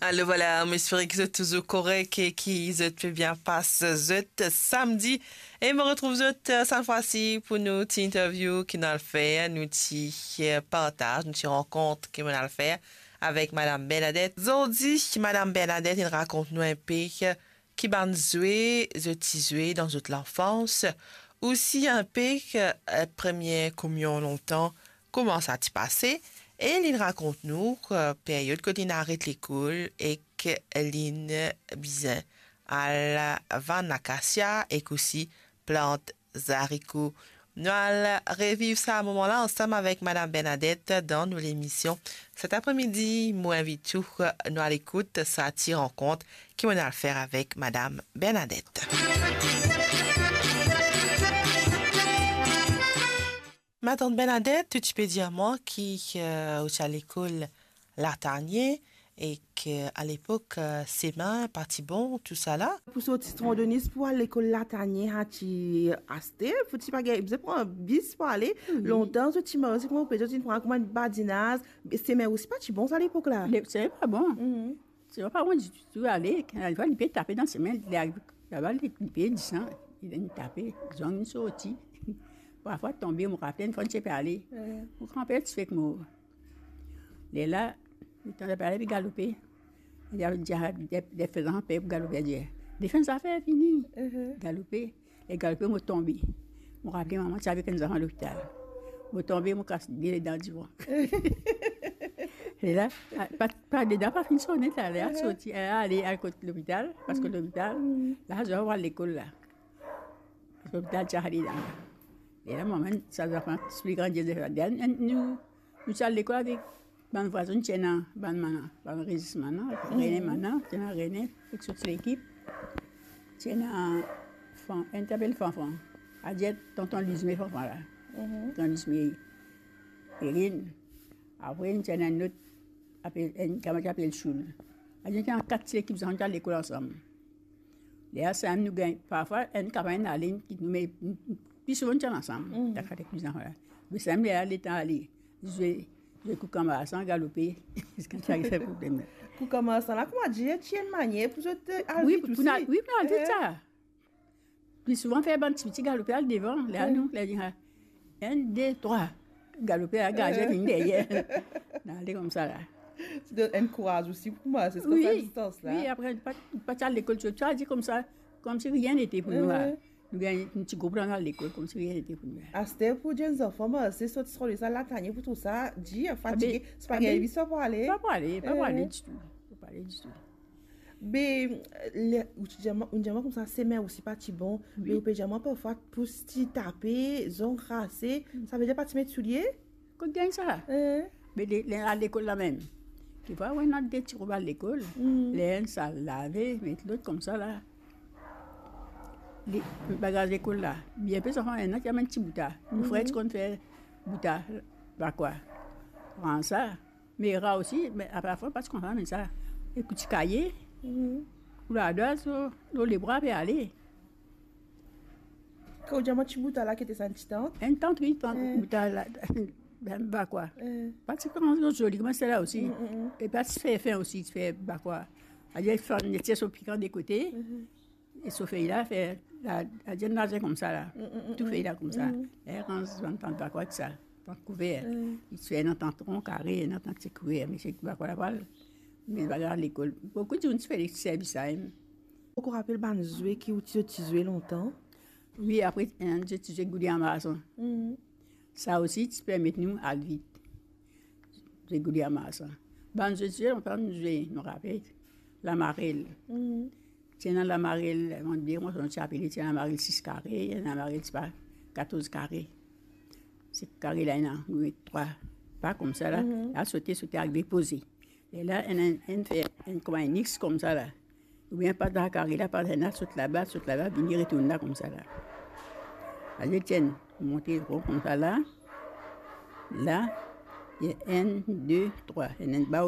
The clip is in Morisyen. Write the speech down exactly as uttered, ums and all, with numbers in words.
Alor vwala, mo espere ki zot touzour korek e ki zot pe bien pas zot samdi. E mo retrouv zot, eh, sa fwa si pou nou ti interview ki nou al fer, nou ti, eh, partaz, nou ti rankont ki nou al fer avek Madam Bernadette. Zordi, Madam Bernadette, inn rakont nou inpe, eh, ki bann zwe zot ti zwe dan zot lanfans, osi inpe, eh, premie kominyon lontan, kouma sa ti pase, e li rakont nou, eh, period kot li inn aret lekol ek li inn bizin al vann akasia ek osi plant zariko. Nou al reviv sa moman la ansam avek Madam Bernadette dan nou lemision. Set apremidi, mo invit ou, nou al ekout sa ti rankont ki mo al fer avek Madam Bernadette. Matant Bernadette, ou ti pe dir mwa ki, eh, ou ti al lekol Latanie, ek, eh, alepok, eh, semin pa ti bon, tousala. Pou sorti Strandonys pou al lekol Latanie, sa ti aste, pou ti pa gagn, bizin pran bis pou ale. Wi. Lontan, zot ti marse kouma ou pe dir, zot ti pran kouma badinaz. Semin osi pa ti bon, sa, lepok la. Le, semin pa bon. Mhm. Semin pa bon ditou, ditou, ale, kan li pe tape dan semin, li ariv laba, li, li pe disan, li vinn tape, zong inn sorti. Parfwa tonbe, mo rapel, enn fwa, ti pe ale. Wi. Mo granper ti fek mor. Lerla, letan li pe ale, li galope. Li a, li a, li a, li a fer zanfan per pou galope, li dir, "Defann zafer, vini." Mhm. Galope, li galope, mo tonbe. Mo rapel mama ti avek enn zanfan lopital. Mo tonbe, mo kas de ledan divan. Lerla, pa, pa, ledan pa finn sone, lerla, Mhm. sorti, ale, al kot lopital, paske Mhm. lopital, Mhm. la, zot al lekol la. Lopital ti ale dan. Lerla, mama, sa zanfan ti pli grandi, nou, nou ti al lekol avek bann vwazin, ti ena bann manna, bann rezis manna, Mhm. Rene manna, ti ena Rene, ek so ti lekip. Ti ena Fan-, enn ti apel Fanfan. Adir tonton Lizme Fanfan la. Mhm. Tonton Lizme Erin. Apre, ti ena enn lot, apel, enn kamarad apel Soul. Adir ti ena kat ti lekip, zot ti al lekol ansam. Lerla samem nou gagn, parfwa, enn kamarad inn ale, enn kit nou, me pli souvan nou ti al ansam, Mhm. dan kat ek bizin la. Me samem lerla letan ale, zwe, zwe koukamasan, galope, ziska ti ariv problem la. Koukamasan la, kouma dir, ti enn manier pou zot, eh, al Wi, vit pou, pou osi. nou al, wi, pou nou al vit Eh. sa. Pli souvan fer bann tipiti galope al devan, lerla Wi. nou, lerla dir, ah, enn, de, trwa. Galope al, gardien Eh. vinn deryer. Nou ale koumsa la. Ti donn enn kouraz osi pou mwa, se Wi, sa distans la. wi, apre, pa, pa ti al lekol, ti, ti al dir koumsa, koumsi rien n'était pou nou, Eh. ah. Nou gagn enn ti group la, nou al lekol, koumsi rien n'était pou nou. Aster pou dir enn zanfan, mwa, se sorti Strandonys al Latanie pou trouv sa dir, fatige, Abe, se pa abe, gagn vi sa pou ale. pa pou ale, pa pou ale Eh. ditou, pa pou ale ditou. Be, le, ou ti dir mwa, ou dir mwa koumsa, semin osi pa ti bon, Wi. me ou pe dir mwa parfwa pous ti tape, zong rase, Mm. savedir pa ti met soulie? Kot gagn sa? Eh. Me le, le, al lekol la mem. Ti vwa, wi, ena de ti rob al lekol. Mm. Ler enn sal lave, met lot koumsa la. Li, bagaz lekol la. Bien pe zanfan, ena ki amenn ti bouta. Nou frer Mhm. ti konn fer bouta, bakwa. Pran sa. Me ra osi, me aparfwa pa ti kontan amenn sa. Ek ti kaye, Mhm. pou ladwa, so, lor lebra pe ale. Kan ou dir mwa ti bouta la, ki ete sa, enn ti tant? Enn tant, wi, tant Eh. bouta la, bakwa. Eh. Pa ti pran zoli, kouma sela osi. Mm, mm, mm. E pa ti fer fin osi, ti fer bakwa. Adir, fann, ti so pikan de kote. Mhm. E so fey la, fer la, la, dir, laze koumsa la. Mm, mm, mm, Tou fey la koumsa. Mm. E ranz bann tant bakwa ek sa, tant kouver. Mm. Li ti fer ena tant ron, kare, ena tant ti kouver, me se bakwa la pral. Me bagay lekol. Boukou dimoun ti fer servi sa, em. Ou rapel bann zwe ki ou ti, ti zwe lontan? Wi, apre, enn zwe ti zwe gouli amason. Mm. Sa osi ti permet nou al vit. Zwe gouli amason. Bann zwe ti zwe lontan, nou zwe, nou rapel. Lamarel. Mm. Ti ena lamarel, mo dir, mo ti apel, ti ena lamarel sis kare, ena lamarel, sipa, katorz kare. Se kare la, ena, wi, trwa pa koumsa la. Mhm. La sote, sote, arive poze. Lerla, enn, enn, enn fer, enn kouma enn X koumsa la. Oubien pa dan kare la, pa ena, sot laba, sot laba, vini retourn la koumsa la. Aze, tienn, monte ron koumsa la. La, enn, de, trwa. Enn, enn, ba,